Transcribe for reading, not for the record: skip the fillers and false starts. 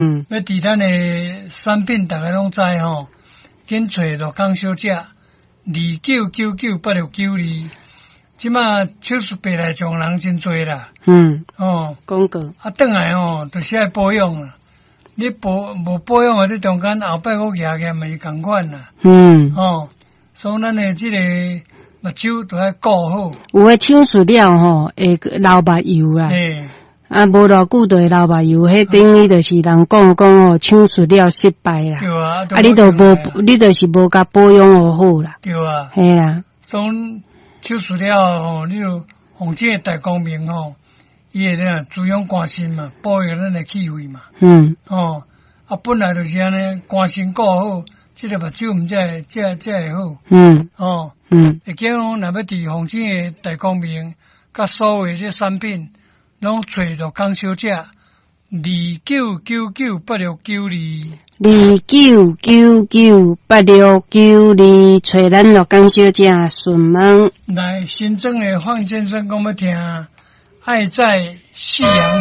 欲佇咱的產品，逐家攏知吼，緊揣樂康小姐29998692。這馬手術白內障人真濟啦。哦，廣告。啊，轉來吼，就是愛保養啦。你保無保養啊，你中間後擺閣舉起嘛是仝款啦。哦，所以咱的這個目睭都愛顧好。有的手術了吼，會流目油啦。啊，無偌久就會流目油，彼等於就是人講講吼，手術了失敗啦。對啊。啊，你就無，你就是無共保養好啦。對啊。嘿啊。所以手術了吼，你就鳳姐大光明吼，伊會咧滋養肝腎嘛，保育咱的氣血嘛。哦，啊，本來就是按呢，肝腎顧好，這个目睭毋才會才會好。哦。會記講，若欲佇鳳姐的大光明，佮所有這產品，攏揣樂康小姐，29998692。29998692，揣咱樂康小姐詢問。來，新莊的方先生講欲聽，愛在夕陽。